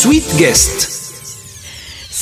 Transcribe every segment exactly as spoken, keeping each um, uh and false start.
Sweet Guest.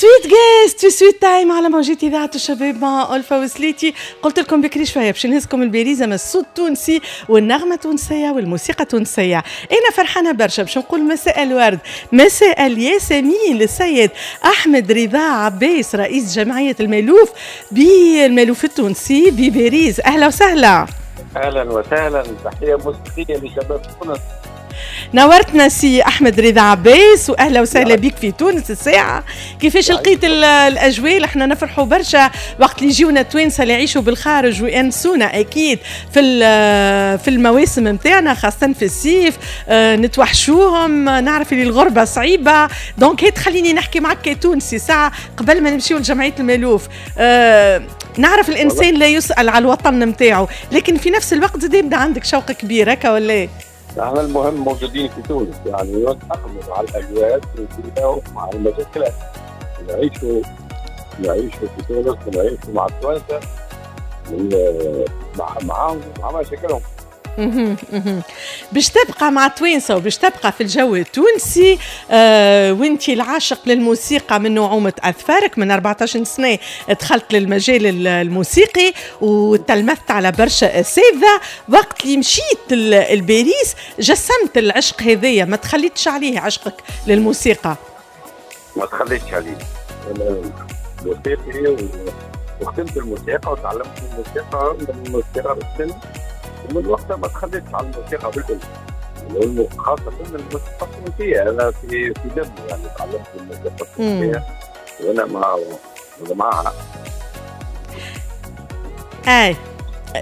Sweet Guest في Sweet Time على موجات اذاعة الشباب مع الفا وسليتي. قلت لكم بكري شوية باش نهزكم الباريس، اما الصوت التونسي والنغمه التونسية والموسيقى التونسيه. انا فرحانة برشا باش نقول مساء الورد، مساء الياسمين للسيد احمد رضا عباس، رئيس جمعية المالوف بالمالوف التونسي بباريس. اهلا وسهلا. اهلا وسهلا، تحية موسيقية لشباب تونس. نورتنا سي احمد رضا عباس، واهلا وسهلا بك في تونس. الساعة كيفاش لقيت الاجواء؟ احنا نفرحوا برشا وقت اللي يجيونا التوانسة اللي يعيشوا بالخارج وينسونا اكيد في في المواسم نتاعنا، خاصة في الصيف آه، نتوحشوهم، نعرف اللي الغربة صعيبه. donc هي تخليني نحكي معك كتونسي ساعة قبل ما نمشيو لجمعية المالوف. آه، نعرف الانسان لا يسال على الوطن نتاعو، لكن في نفس الوقت زاد يبدا عندك شوق كبير هكا ولا؟ احنا المهم موجودين في تونس، يعني نتأقلموا مع الاجواء التونسية ومع المشاكل، نعيشوا نعيشوا في تونس ونعيشوا مع التوانسة مع معاهم مع مشاكلهم. باش تبقى مع التوانسة وباش تبقى في الجو التونسي. آه وانت العاشق للموسيقى من نعومة اظفارك، من أربعطاش سنة دخلت للمجال الموسيقي وتلمذت على برشا اساتذة. وقت اللي مشيت لباريس جسمت العشق هذايا، ما تخليتش عليه عشقك للموسيقى؟ ما تخليتش عليه، انا موسيقي وخدمت الموسيقى وتعلمت الموسيقى من صغر السن، ومن وقتها ما تخليتش على الموسيقى بالكل، خاصة الموسيقى التونسية. أنا في في دمي يعني تعلمت الموسيقى التونسية وأنا مع معها. أي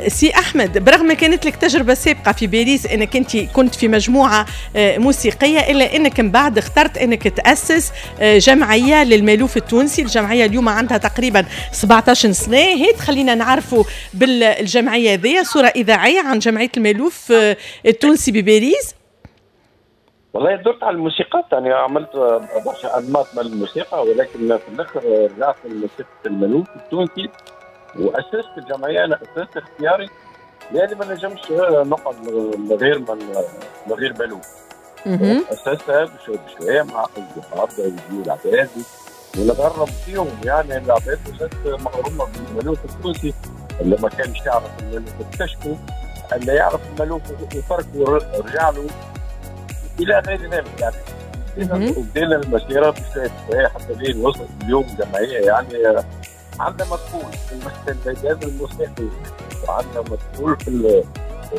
سي أحمد، برغم كانت لك تجربة سابقة في باريس أنك أنت كنت في مجموعة موسيقية، إلا أنك من بعد اخترت أنك تأسس جمعية للمالوف التونسي. الجمعية اليوم عندها تقريبا سبعطاش سنة. هي تخلينا نعرفوا بالجمعية ذي صورة إذاعية عن جمعية المالوف التونسي بباريس. والله درت على الموسيقات، يعني عملت برشا أنماط من الموسيقى، ولكن في الآخر رجعت لموسيقى المالوف التونسي واسست الجمعية. انا اسست اختياري لاني ما نجمش نقعد من غير من غير مالوف. اسستها بشوية بشوية مع اصدقاء بداوا يجيو العباد ونغرب فيهم، يعني العباد ولات مغرومه بالمالوف التونسي. اللي ما كانش يعرف المالوف اكتشفه، اللي يعرف المالوف وتركه رجع له الى غير ذلك. يعني وبدينا المسيرة بشوية بشوية حتى لين وصلت اليوم جمعية يعني عندنا مدخول في الميدان الموسيقي، وعندنا مدخول في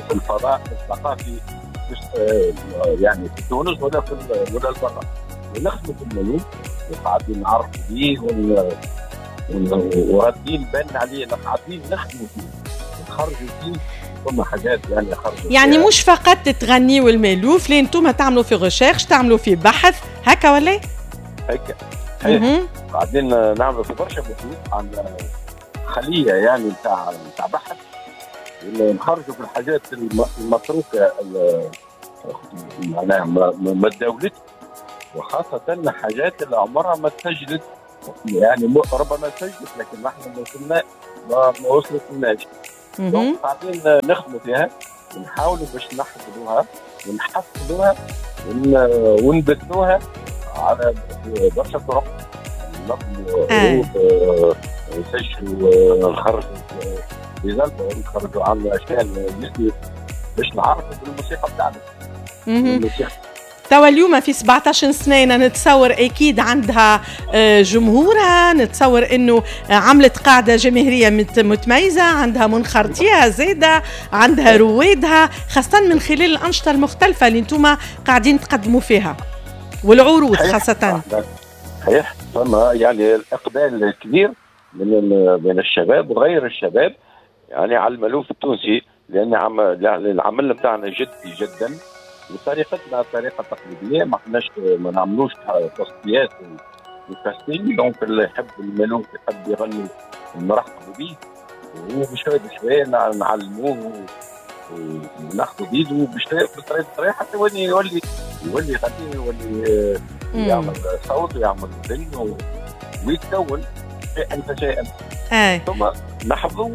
في الفضاء الثقافي يعني في تونس ولا في ولا البرا. ونخدموا في المالوف وقاعدين نعرفوا بيه وردين بالنا عليه، قاعدين نخدموا فيه نخرجوا فيه ثم حاجات يعني خرجوا يعني مش فقط تغنيوا المالوف، لين انتم تعملوا في recherche، تعملوا في بحث هكا ولا؟ هكا قاعدين نعملوا في برشا بحوث، عندنا خليه يعني نتاع نتاع بحث، ونخرجوا في الحاجات المتروكة معناها ما تداولتش، وخاصة حاجات اللي عمرها ما تسجلت، يعني ربما سجلت لكن نحن ما وصلنا ما وصلت لناش. donc قاعدين نخدموا فيها ونحاولوا باش نحفظوها ونحفظوها ونبثوها على برشا طرق. نظموا عروض، نسجلوا، نخرجوا des albums، نخرجوا على اشياء باش نعرفوا بالموسيقى بتاعنا. توا اليوم في سبعطاش سنة نتصور اكيد عندها جمهورها، نتصور انه عملت قاعدة جماهيرية متميزة، عندها منخرطيها زاده، عندها روادها، خاصة من خلال الانشطة المختلفة اللي انتم قاعدين تقدموا فيها والعروض خاصة. صحيح، فما يعني الاقبال الكبير من من الشباب وغير الشباب يعني على المالوف التونسي، لان العمل بتاعنا جدي جدا وطريقتنا طريقه تقليدية، ما احناش ما نعملوش تصفيات و casting. donc اللي يحب المالوف يحب يغني نرحبوا به، وبشويه بشوية نعلموه وناخذوا بيده بشوية بطريقة بطريقة حتى يولي يولي يولي يغني، يولي يعمل صوت ويعمل ذن ويتكون شيئا فشيئا. ثم نحفظوا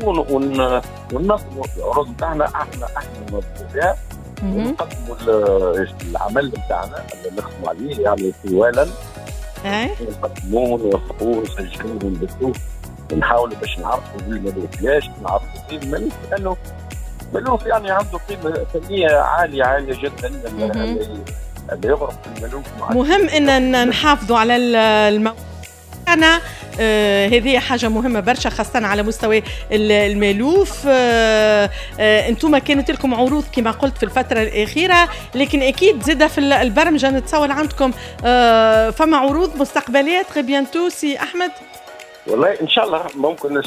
وننظموا العروض نتاعنا، احنا احنا ننظموا فيها ونقدموا العمل نتاعنا اللي نخدموا عليه يعني طوالا. نقدموه ونوثقوه ونسجلوه ونبثوه ونحاولوا باش نعرفوا بالمالوف. ليش نعرفوا به المالوف؟ لانه المالوف يعني عنده قيمة فنية عالية عالية جدا، اللي يغرق في المالوف. مهم ان نحافظوا على المو... أنا آه هذه حاجة مهمة برشا خاصة على مستوى المالوف. آه آه انتم كانت لكم عروض كما قلت في الفترة الأخيرة، لكن أكيد زادة في البرمجة نتصور عندكم آه فما عروض مستقبلية très bientôt سي أحمد. والله إن شاء الله ممكن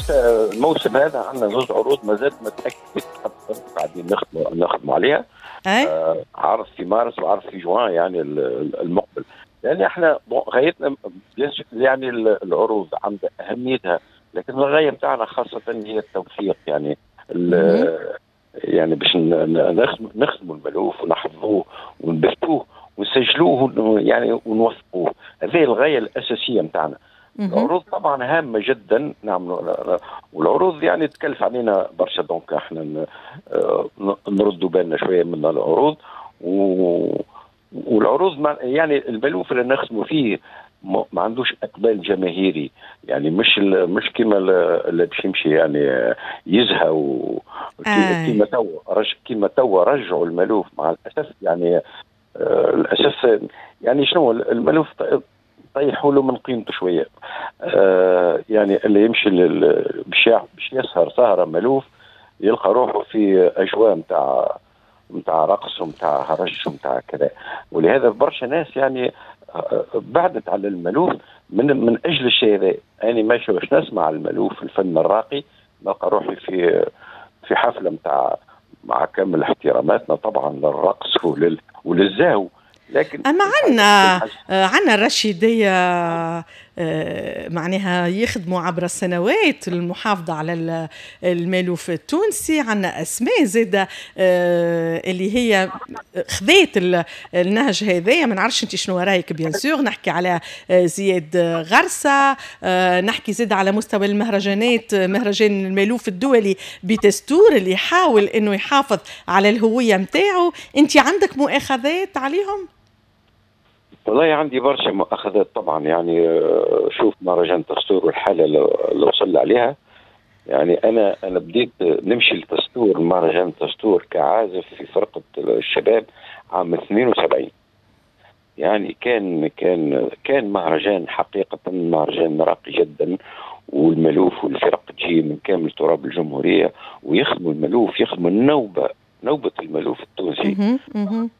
الموسم هذا عندنا زوج عروض ما زالت ما تأكدت، قاعدين نخدموا نخدموا عليها. آه عرض في مارس وعرض في جوان يعني المقبل. يعني احنا غايتنا يعني العروض عندها اهميتها، لكن الغاية نتاعنا خاصة هي التوثيق، يعني يعني باش نخدموا المالوف ونحفظوه ونبثوه ونسجلوه يعني ونوثقوه، هذه الغاية الاساسية نتاعنا. العروض طبعا هامة جدا نعملوا، والعروض يعني تكلف علينا برشا، donc احنا نردوا بالنا شوية من العروض. و والعروض يعني المالوف اللي نخدموا فيه ما عندوش اقبال جماهيري، يعني مش مش كيما اللي باش يمشي يعني يزهى و كيما تو كيما تو رجعوا المالوف مع الاسف. يعني آه الاسف يعني شنو المالوف طيحوا له من قيمته شوية. آه يعني اللي يمشي باش باش يسهر سهره مالوف يلقى روحه في اجواء نتاع نتاع رقص ونتاع هرج ونتاع كذا، ولهذا برشا ناس يعني بعدت على المالوف من من اجل الشيء هذا. انا ماشي باش نسمع المالوف الفن الراقي، نلقى روحي في في حفلة نتاع مع كامل احتراماتنا طبعا للرقص ولل وللزهو، لكن اما عندنا عندنا الرشيديه معناها يخدموا عبر السنوات المحافظة على المالوف التونسي. عندنا اسماء زاده اللي هي خذات النهج هذايا، ما نعرفش انت شنو رايك. bien sûr نحكي على زياد غرسه، نحكي زاده على مستوى المهرجانات، مهرجان المالوف الدولي بتستور اللي يحاول انه يحافظ على الهوية نتاعو. انت عندك مؤاخذات عليهم؟ والله عندي برشا مؤاخذات طبعا. يعني شوف مهرجان تستور والحالة اللي وصل عليها، يعني انا انا بديت نمشي لتستور مهرجان تستور كعازف في فرقه الشباب عام اثنين وسبعين. يعني كان كان كان مهرجان حقيقة مهرجان راقي جدا، والمالوف والفرق تجي من كامل تراب الجمهورية ويخدموا المالوف، يخدموا النوبة نوبة المالوف التونسي.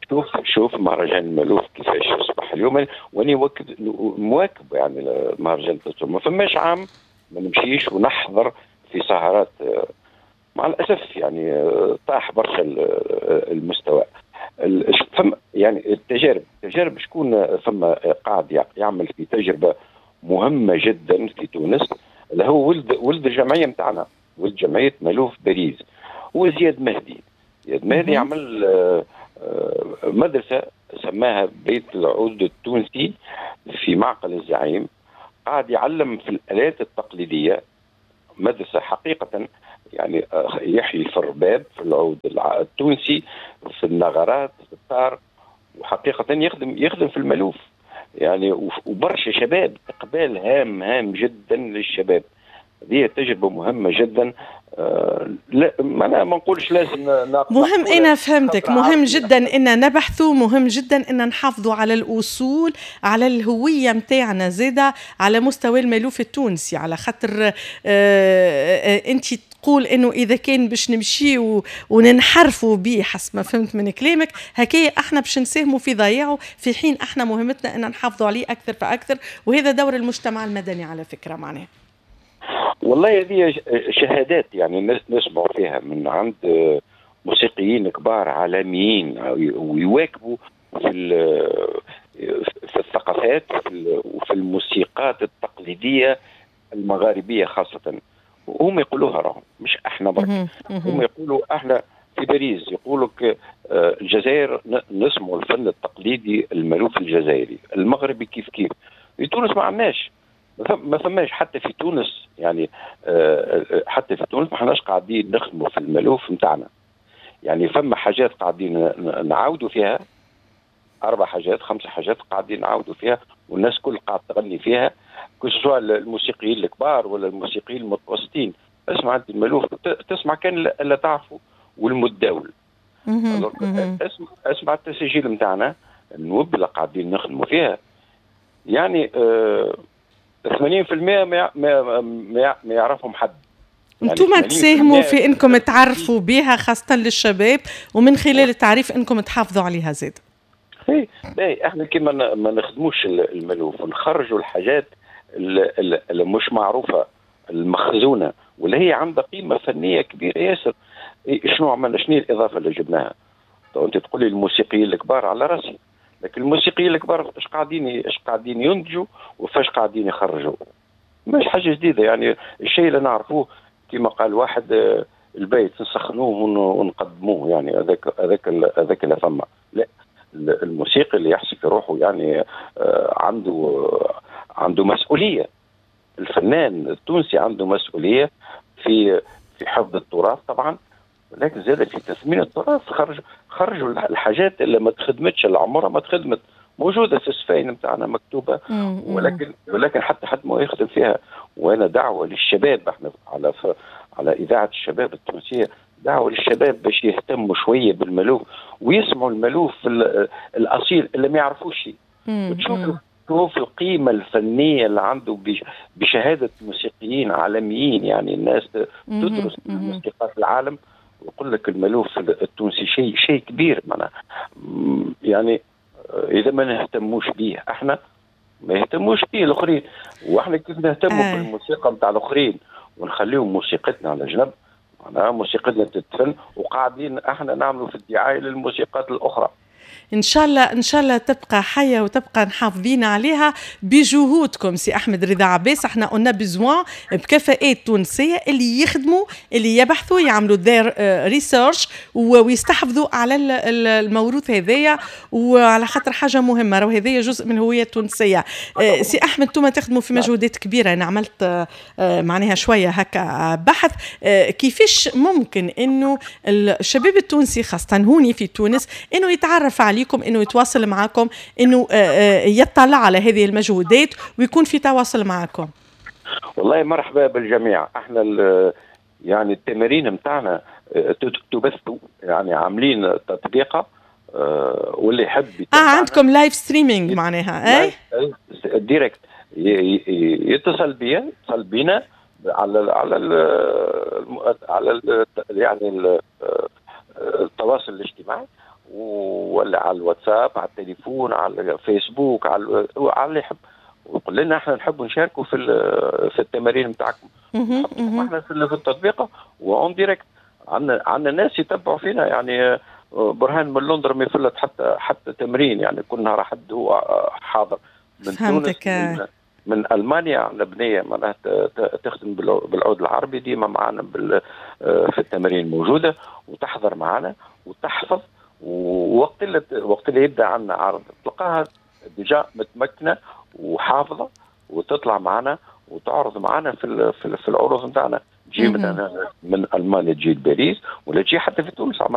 شوف شوف مهرجان المالوف كيفاش اصبح اليوم، واني مواكب يعني مهرجان التستور. ما فماش عام ما نمشيش ونحضر في سهرات، مع الاسف يعني طاح برشا المستوى. فم يعني التجارب التجارب شكون فما قاعد يعمل في تجربه مهمة جدا في تونس، اللي هو ولد ولد الجمعية نتاعنا، ولد جمعية مالوف باريس، هو زياد مهدي. زياد مهدي عمل مدرسة سماها بيت العود التونسي في معقل الزعيم، قاعد يعلم في الآلات التقليدية. مدرسة حقيقة يعني يحيي في الرباب، في العود التونسي، في النغرات، في الطار، وحقيقة يخدم يخدم في المالوف يعني. وبرشا شباب، إقبال هام هام جدا للشباب. هذه تجربة مهمة جدا. آه لا ما انا ما نقولش لازم ناقص. مهم، انا فهمتك. مهم جدا ان نبحثوا، مهم جدا ان نحافظوا على الاصول، على الهوية نتاعنا زاده على مستوى المالوف التونسي. على خاطر آه آه انت تقول انه اذا كان باش نمشي وننحرفوا به حسب ما فهمت من كلامك هكايا احنا باش نساهموا في ضياعه، في حين احنا مهمتنا ان نحافظوا عليه اكثر فاكثر، وهذا دور المجتمع المدني على فكرة معناه. والله هذه شهادات يعني الناس نسمعوا فيها من عند موسيقيين كبار عالميين، ويواكبوا في في الثقافات وفي الموسيقات التقليدية المغاربية خاصة. وهم يقولوها راهم مش احنا برك، هم يقولوا احنا في باريس يقولوا لك الجزائر نسمعوا الفن التقليدي المالوف الجزائري، المغربي كيف كيف. في تونس ما عندناش، ما فماش حتى في تونس يعني، حتى في تونس ما حناش قاعدين نخدموا في المالوف نتاعنا. يعني فما حاجات قاعدين نعاودوا فيها، اربع حاجات خمسة حاجات قاعدين نعاودوا فيها، والناس كل قاعدة تغني فيها، que ce soit الموسيقيين الكبار ولا الموسيقيين المتوسطين. اسمع انت المالوف تسمع كان اللي تعرفه والمتداول. اسمع اسمع التسجيل نتاعنا النوب اللي قاعدين نخدموا فيها، يعني آه ثمانين بالمئة ما ما ما يعرفهم حد. انتم يعني تساهموا في انكم تعرفوا بها خاصة للشباب، ومن خلال التعريف انكم تحافظوا عليها زاد. اي باهي، احنا كيما ما نخدموش المالوف ونخرجوا الحاجات اللي, اللي مش معروفة المخزونه واللي هي عندها قيمة فنية كبيرة ياسر. شنو عملنا؟ شنو الاضافة اللي جبناها؟ تو انت تقول لي الموسيقيين الكبار على راسي، لكن الموسيقيين الكبار اش قاعدين اش قاعدين ينتجوا وفاش قاعدين يخرجوا؟ مش حاجة جديدة، يعني الشيء اللي نعرفوه كما قال واحد البيت نسخنوه ونقدموه، يعني هذاك هذاك هذاك اللي فما. لا، الموسيقي اللي يحسب في روحه يعني عنده عنده مسؤولية. الفنان التونسي عنده مسؤولية في في حفظ التراث طبعا، ولكن زاد في تثمين التراث. خرج خرجوا الحاجات اللي ما تخدمتش، اللي عمرها ما تخدمت، موجودة في السفاين نتاعنا مكتوبة، ولكن ولكن حتى حد ما يخدم فيها. وانا دعوه للشباب، احنا على على اذاعة الشباب التونسية، دعوه للشباب باش يهتموا شوية بالمالوف ويسمعوا المالوف الاصيل اللي ما يعرفوش. وتشوف تشوف القيمة الفنية اللي عنده بشهادة موسيقيين عالميين، يعني الناس تدرس موسيقات العالم ويقول لك المالوف التونسي شيء شيء كبير. معناها يعني اذا ما نهتموش به احنا ما يهتموش به الاخرين، واحنا كيف نهتموا آه. بالموسيقى نتاع الاخرين ونخليهم موسيقتنا على جنب، معناها موسيقتنا تتفن وقاعدين احنا نعملوا في الدعاية للموسيقات الاخرى. ان شاء الله ان شاء الله تبقى حيه وتبقى محافظين عليها بجهودكم سي احمد رضا عباس. احنا on a besoin بكفاءات تونسية اللي يخدموا، اللي يبحثوا، يعملوا their research ويستحفظوا على الموروث هذايا، وعلى خاطر حاجة مهمة، راهو هذايا جزء من الهوية التونسية. سي احمد، انتم تخدموا في مجهودات كبيرة، انا عملت معناها شوية هكا بحث كيفاش ممكن انه الشباب التونسي خاصة هوني في تونس انه يتعرف عليكم، انه يتواصل معكم، انه يطلع على هذه المجهودات ويكون في تواصل معكم. والله مرحبا بالجميع. احنا يعني التمارين نتاعنا تبث، يعني عاملين تطبيقه واللي يحب اه عندكم live streaming معناها؟ اي direct يتصل بيا، يتصل بينا على ال على ال على ال يعني التواصل الاجتماعي، ولا على الواتساب، على التليفون، على الفيسبوك، على على اللي يحب، ويقول لنا احنا نحب نشاركوا في في التمارين نتاعكم. احنا في التطبيقه و en direct عندنا عندنا ناس يتبعوا فينا، يعني برهان من لندن ما يفلت حتى حتى تمرين، يعني كل نهار حد هو حاضر من فهمتك. تونس، من, من المانيا عندنا بنيه معناها تخدم بالعود العربي ديما معنا في التمارين موجودة وتحضر معنا وتحفظ، ووقت اللي وقت اللي يبدا عندنا عرض تلقاها déjà متمكنة وحافظه وتطلع معنا وتعرض معنا في في العروض نتاعنا. تجي مثلا من المانيا تجي لباريس ولا تجي حتى في تونس.